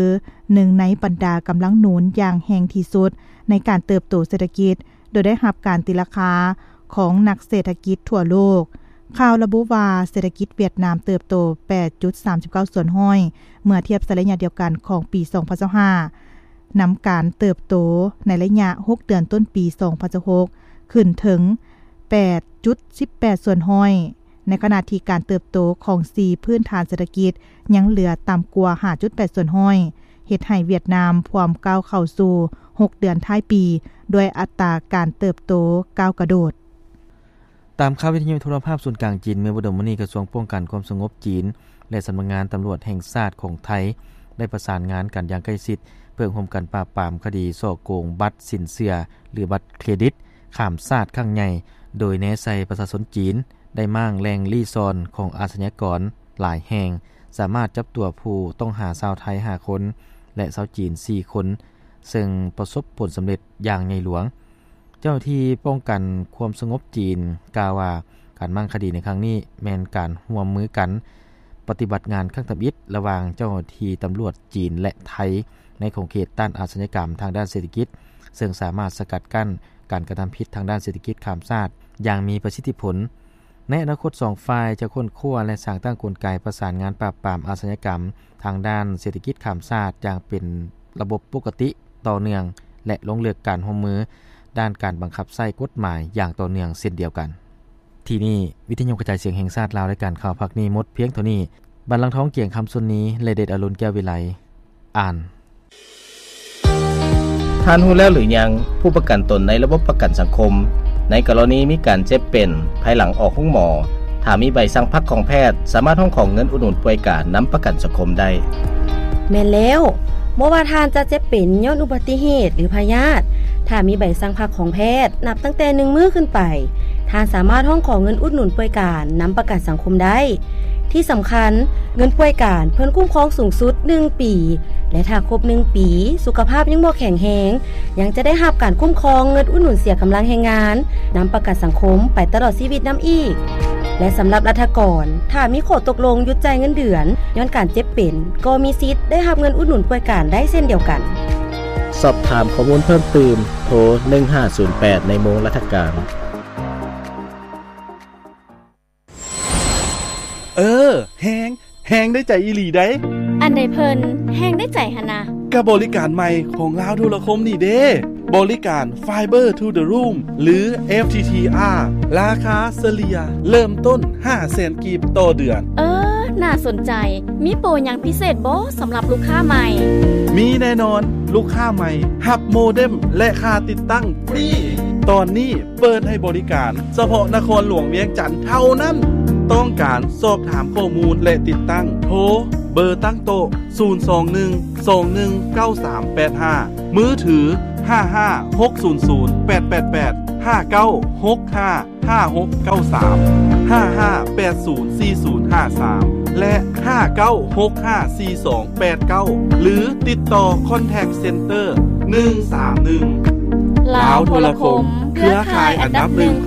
ໜຶ່ງໃນບັນດາກຳລັງໜູນຢ່າງແຮງທີ່ສຸດໃນການເຕີບໂຕເສດຖະກິດ, ໂດຍໄດ້ຮັບການຕີລາຄາຂອງນັກເສດຖະກິດທົ່ວໂລກ. ຂ່າວລະບຸວ່າ ເສດຖະກິດຫວຽດນາມເຕີບໂຕແປດຈຸດສາມສິບເກົ້າສ່ວນຮ້ອຍ ເມື່ອທຽບໃສ່ໄລຍະດຽວກັນຂອງປີສອງພັນຊາວຫ້າ ນຳການເຕີບໂຕໃນໄລຍະຫົກເດືອນຕົ້ນປີສອງພັນຊາວຫົກ ຂຶ້ນເຖິງແປດຈຸດສິບແປດສ່ວນຮ້ອຍ ໃນຂະນະທີ່ການເຕີບໂຕຂອງສີ່ພື້ນຖານເສດຖະກິດຍັງເຫຼືອຕ່ຳກວ່າຫ້າຈຸດແປດສ່ວນຮ້ອຍ ເຮັດໃຫ້ຫວຽດນາມພວມກ້າວເຂົ້າສູ່ຫົກເດືອນທ້າຍປີ ດ້ວຍອັດຕາການເຕີບໂຕກ້າວກະໂດດ. ຕາມຂ່າວວິທະຍຸໂທລະພາບສູນກາງຈີນ, ເມື່ອບໍ່ດົນມານີ້ ກະຊວງປ້ອງກັນຄວາມສະຫງົບຈີນ ແລະ ສຳນັກງານຕຳຫຼວດແຫ່ງຊາດຂອງໄທ ໄດ້ປະສານງານກັນຢ່າງໃກ້ຊິດ ເພື່ອຮ່ວມກັນປາບປາມຄະດີສໍ້ໂກງບັດສິນເຊື່ອ ຫຼື ບັດເຄຣດິດຂ້າມຊາດຄັ້ງໃຫຍ່, ໂດຍແນໃສ່ປະຊາຊົນຈີນ ໄດ້ມ້າງແຫຼ່ງລີ້ຊ່ອນຂອງອາຊະຍາກອນຫຼາຍແຫ່ງ, ສາມາດຈັບຕົວຜູ້ຕ້ອງຫາຊາວໄທຫ້າຄົນ ແລະ ຊາວຈີນສີ່ຄົນ, ເຊິ່ງປະສົບຜົນສຳເລັດຢ່າງໃຫຍ່ຫຼວງ. ເຈົ້າໜ້າທີ່ປ້ອງກັນຄວາມສະຫງົບຈີນກ່າວວ່າ ການມ້າງຄະດີໃນຄັ້ງນີ້ແມ່ນການຮ່ວມມືກັນປະຕິບັດງານຄັ້ງທຳອິດລະຫວ່າງເຈົ້າໜ້າທີ່ຕຳຫຼວດຈີນ ແລະ ໄທ ໃນຂົງເຂດຕ້ານອາຊະຍາກຳທາງດ້ານເສດຖະກິດ, ເຊິ່ງສາມາດສະກັດກັ້ນການກະທຳຜິດທາງດ້ານເສດຖະກິດຂ້າມຊາດຢ່າງມີປະສິດທິຜົນ. ໃນອະນາຄົດ, ສອງຝ່າຍຈະຄົ້ນຄວ້າ ແລະ ສ້າງຕັ້ງກົນໄກປະສານງານປາບປາມອາຊະຍາກຳທາງດ້ານເສດຖະກິດຂ້າມຊາດຢ່າງເປັນລະບົບປົກກະຕິ, ຕໍ່ເນື່ອງ ແລະ ລົງເລິກການຮ່ວມມືດ້ານການບັງຄັບໃຊ້ກົດໝາຍຢ່າງຕໍ່ເນື່ອງເຊັ່ນດຽວກັນ. ທີ່ນີ້ ວິທະຍຸກະຈາຍສຽງແຫ່ງຊາດລາວ ລາຍການຂ່າວພາກນີ້ໝົດພຽງເທົ່ານີ້. ບັນລັງທອງ ກຽງຄຳ ຊຸນນີ ແລະ ເດດອະລຸນ ແກ້ວວິໄລ ອ່ານ. ທ່ານຮູ້ແລ້ວຫຼືຍັງ ຜູ້ປະກັນຕົນໃນລະບົບປະກັນສັງຄົມ ໃນກໍລະນີມີການເຈັບເປັນ ພາຍຫຼັງອອກໂຮງໝໍ ຖ້າມີໃບສັ່ງພັກຂອງແພດ ສາມາດຮ້ອງຂໍເງິນອຸດໜູນປ່ວຍການນຳປະກັນສັງຄົມໄດ້. ແມ່ນແລ້ວ, ບໍ່ວ່າທ່ານຈະເຈັບເປັນຍ້ອນອຸບັດຕິເຫດ ຫຼື ພະຍາດ, ຖ້າມີໃບສັ່ງພັກຂອງແພດ ນັບຕັ້ງແຕ່ໜຶ່ງມື້ຂຶ້ນໄປ, ທ່ານສາມາດຮ້ອງຂໍເງິນອຸດໜູນປ່ວຍການນຳປະກັນສັງຄົມໄດ້. ທີ່ສຳຄັນ, ເງິນປ່ວຍການເພິ່ນຄຸ້ມຄອງສູງສຸດໜຶ່ງປີ ແລະ ຖ້າຄົບໜຶ່ງປີ ສຸຂະພາບຍັງບໍ່ແຂງແຮງ, ຍັງຈະໄດ້ຮັບການຄຸ້ມຄອງເງິນອຸດໜູນເສຍກຳລັງແຮງງານ ນຳປະກັນສັງຄົມໄປຕະຫຼອດຊີວິດນຳອີກ. ແລະ ສຳລັບລັດຖະກອນ, ຖ້າມີຂໍ້ຕົກລົງຢຸດຈ່າຍເງິນເດືອນຍ້ອນການເຈັບເປັນ, ກໍມີສິດໄດ້ຮັບເງິນອຸດໜູນປ່ວຍການໄດ້ເຊັ່ນດຽວກັນ. ສອບຖາມຂໍ້ມູນເພີ່ມຕື່ມ, ໂທ ໜຶ່ງຫ້າສູນແປດ ໃນໂມງລັດຖະການ. ເອີ ແຮງ ແຮງໄດ້ໃຈອີ່ຫຼີໃດ໋. ອັນໃດເພິ່ນແຮງໄດ້ໃຈຫັ້ນນະ. ກັບບໍລິການໃໝ່ຂອງລາວໂທລະຄົມນີ້ເດ້, ບໍລິການ Fiber to the Room ຫຼື FTTR ລາຄາສະເລ່ຍເລີ່ມຕົ້ນຫ້າແສນກີບຕໍ່ເດືອນ. ເອີ, ໜ້າສົນໃຈ. ມີໂປຣຫຍັງພິເສດບໍ່ສຳລັບລູກຄ້າໃໝ່? ມີແນ່ນອນ, ລູກຄ້າໃໝ່ຮັບໂມເດັມ ແລະ ຄ່າຕິດຕັ້ງຟຣີ. ຕອນນີ້ເປີດໃຫ້ບໍລິການສະເພາະນະຄອນຫຼວງວຽງຈັນເທົ່ານັ້ນ. ຕ້ອງການສອບຖາມຂໍ້ມູນ ແລະ ຕິດຕັ້ງ, ໂທເບີຕັ້ງໂຕະ ສູນສອງໜຶ່ງ ສອງໜຶ່ງ ເກົ້າສາມແປດຫ້າ, ມືຖື ຫ້າຫ້າຫົກສູນສູນແປດແປດແປດ, ຫ້າເກົ້າຫົກຫ້າ ຫ້າຫົກເກົ້າສາມ, ຫ້າຫ້າແປດສູນສີ່ສູນຫ້າສາມ ແລະ ຫ້າເກົ້າຫົກຫ້າສີ່ສອງແປດເກົ້າ ຫຼື ຕິດຕໍ່ Contact Center ໜຶ່ງສາມໜຶ່ງ. ລາວໂທລະຄົມ, ເຄືອຂ່າຍອັນດັບໜຶ່ງຂ